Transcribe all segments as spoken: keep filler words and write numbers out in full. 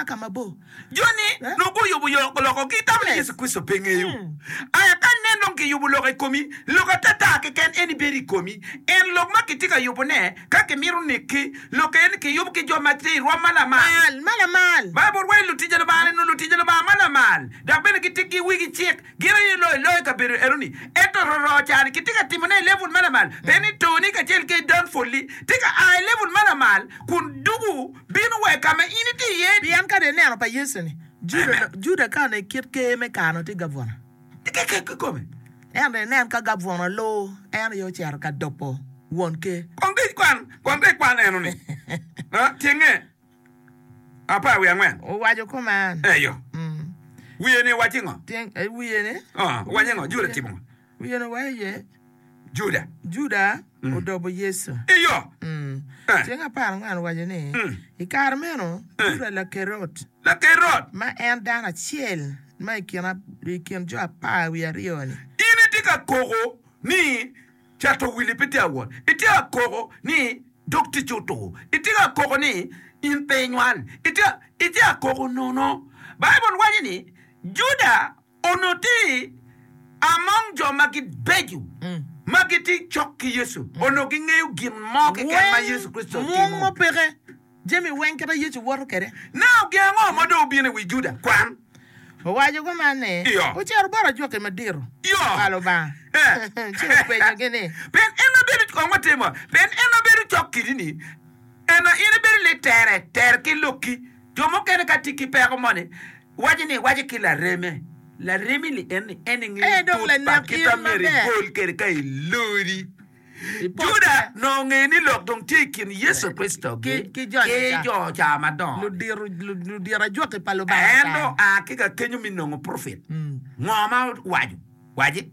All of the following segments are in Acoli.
ka mabor. Joni Eh? nongo guyubo yo loko gitamo ni Yes. Yecu Kricito pe ngeyo. Mm. Aya ka nen dong kiyubo lok i komi, lok atata keken en ibedo i komi. En lok ma kitye ka yubone, ka kimito nekki, lok en kiyubo ki jo ma tye i rwom ma lamal. Mal, ma lamal. Baibul waco ni lutic a Lubanga ni lutic a Lubanga ma lamal, dok bene gitye ki wigi cik. Gin aye loyo loyo i kabedo enoni. Ento roro ca-ni kitye ka timone i level ma lamal, pien ni toni kacel ki downfall-li tye ka a i level ma lamal kun dugu bino wa i ka ma in itye iye-ni. Pien ka dong ineno pa Yecu-ni, Juda, Amen. Juda ka onongo i kit ker me kare-ni tye gabuna. Tye kikome. Ento inen ka gabuna olur, en aye ocito ka dobo won ker. Kong dong ikwan, kong dong ikwan enoni. Ah, tyenge apar wiye angwen. Owaco kuman. Eyo. Mm. Wiye ni waci ngo? Tyeng, eh, wiye ni. Ah, owaco ngo? Juda Wiye, timo ngo? wiye ni owaco iye. Juda. Juda Mm. odobo Yecu. Eyo. Mm. Eh. Tyeng apar angwen owaco ni, Mm. I kare meno, Eh. Juda Lakerot, Lakerot. ma en dano acel ma i kin, i kin jo apar wiye aryo-ni, In itye ka koko ni cato wili pe tye awot. Itye ka koko ni dog ticci otur. Itye ka koko ni in pe inywal. Itye, itye ka koko nono. Baibul waco ni Juda onongo tye among jo ma gibeco ma gitye cok ki Yecu. Onongo gingeyo gin mo keken ma weng Yecu Kricito mung timo. mo peke, jami weng kit ma Yecu woto kwede. Now gin ango ma dong obino i wi Juda? Kwan. Owaco kuman ni, Iyo. Ocito bot ajwaki madito Iyo. pa Lubanga, Eh. ci openyogi ni, Pien en ma bedo, kong watimo, pien en ma bedo cok kidi-ni, en ma in ibedo litere ter ki lokki. Jo mukene ka tye ki peko moni, waco ni waco ki lareme, laremi-ni en ni en Eh, ingeyo dong tut pa lanek kit in ma myero maber. ibol kwede ka ilodi. Ipotte. Juda nongo ongeyo ni lok dong tye i kin Yecu Kricito Ki, ki ki joni ki ca, jo ca madongo-ni. ludito, ludito ajwaki pa Lubanga En ca. dong oa ki ka kenyo me nongo profit. Mm. Ngo ma owaco? Waci.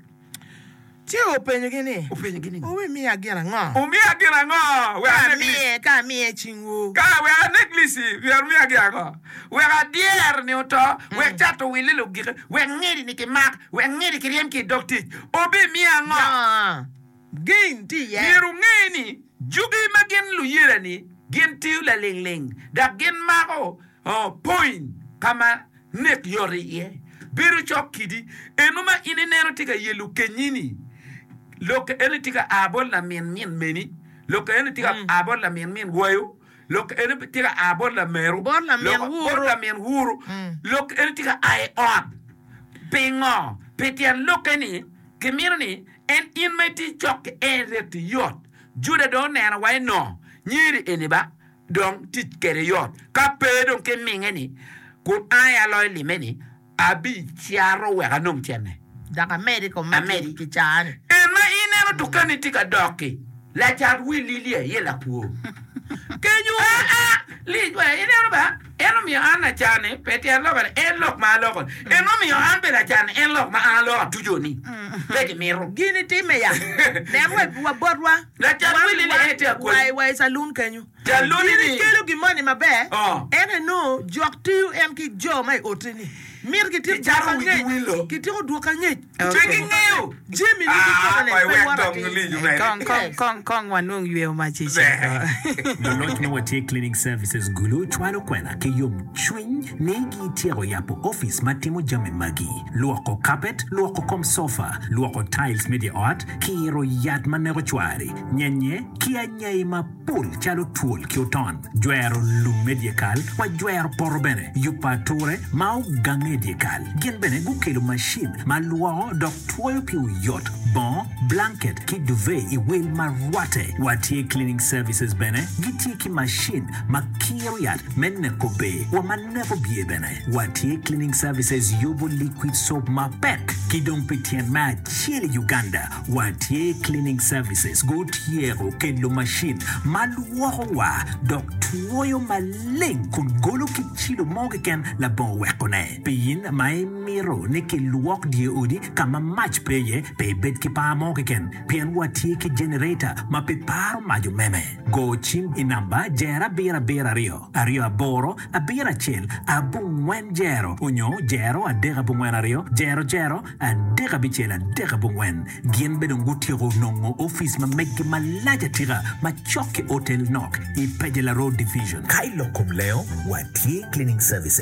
Ci openyogi ni, Openyogi ni, Wumiya gin ango? Wumiya gin ango wek Ka anek lic? amiye, ka amiye cingwu. Ka wek anek lici, myero wumiya gin ango? Wek adyer ni oto, wek cato wille lugike, wek ngidi ni kimak, wek ngidi kiryem ki i dog tic. Wubimiya ango? No, gain tye iye. Myero wunge ni jugi ma gin luyela-ni gin tiyo lalingling dok gin mako point ka ma nek yot iye. Bedo cok kidi eno ma in ineno tye ka yelo kenyi-ni, lok eno tye ka a bot lamin min meni, lok eno tye ka a bot lamin min wayo, lok eno tye ka a bot lameru, Bot lamin lok bot wuru. lamin wuru, lok eno tye ka a i ot. Pingo? Pi tyen lokke ni kimito ni en in ma itye cok ki en reti yot. Juda dong oneno wa eno nyeri eni ba dong tic kwede yot. Ka pe dong ki minge ni kun an aye aloyo lime ni abicato wek anong cente. Dok amedi i kom ma Amedi. kicaa-ni. En ma ineno dukanni tye ka dok-ki, lacat wil lili aye lakwo. Kenyo. Aa, lic wa, ineno ba, en omiyo an lacan-ni, pe tyen loka ni en lok ma aloko-ni. En omiyo an bene lacan-ni, en lok ma an aloko atuco-ni. Pe gimito. Gin itimme ya. Nen wa, wa botwa. Lacat Wan, wil lili wan, en tye wa, akweni. wa i calun kenyo. Caluni In ni. ikelo gin moni maber, Oh. ento inongo jok tiyo en ki jo ma i oti-ni. Mito gityeko Gicato dwoko wigi angec. wilo. Gityeko dwoko angec. Pe gingeyo. Jami ni Ah, kikome-ni koy pe wek woto dong atir. lic omede. Kong, kong, Yes. kong, kong wanong yweyo macic eko. Luloc ma watye Cleaning Services Gulu cwalo kwena ki yomcwiny ni gityeko yabo opic ma timo jami magi, lwoko kapet, lwoko kom sofa, lwoko tiles me dye ot, kiro yat ma neko cwari, nyenye ki anyai mapol calo twol ki oton, jwero lum me dyekal wa jwero poto bene, yubo ature ma ogange i dyekal. Gin bene gukelo macin ma lwoko dok twoyo pi oyot, bongo, blanket ki duvet i wel ma rwatte. Watye Cleaning Services bene gitye ki macin ma kiro yat me neko ber wa ma neko bye bene. Watye Cleaning Services yubo liquid soap mapek ki dong pi tyen me acel i Uganda. Watye Cleaning Services gutyeko kelo macin ma lwoko wa dok twoyo maleng kun golo kit cilo mo keken labongo wekone. Pi in ma imito ni kilwok dye odi ka ma mac pe iye, pe ibed ki par mo. mo keken pien watye ki generator ma pe paro mac omeme. Go cim i namba jero abiro abiro aryo aryo aboro abiro acel abongwen jero onyo jero adek abongwen aryo jero jero adek abicel adek abongwen. Gin bene dong gutyeko nongo opic ma meggi malac atika ma cok ki Hotel Nok i Pejela Road Division. Ka i lok kom lengo, watye Cleaning Services.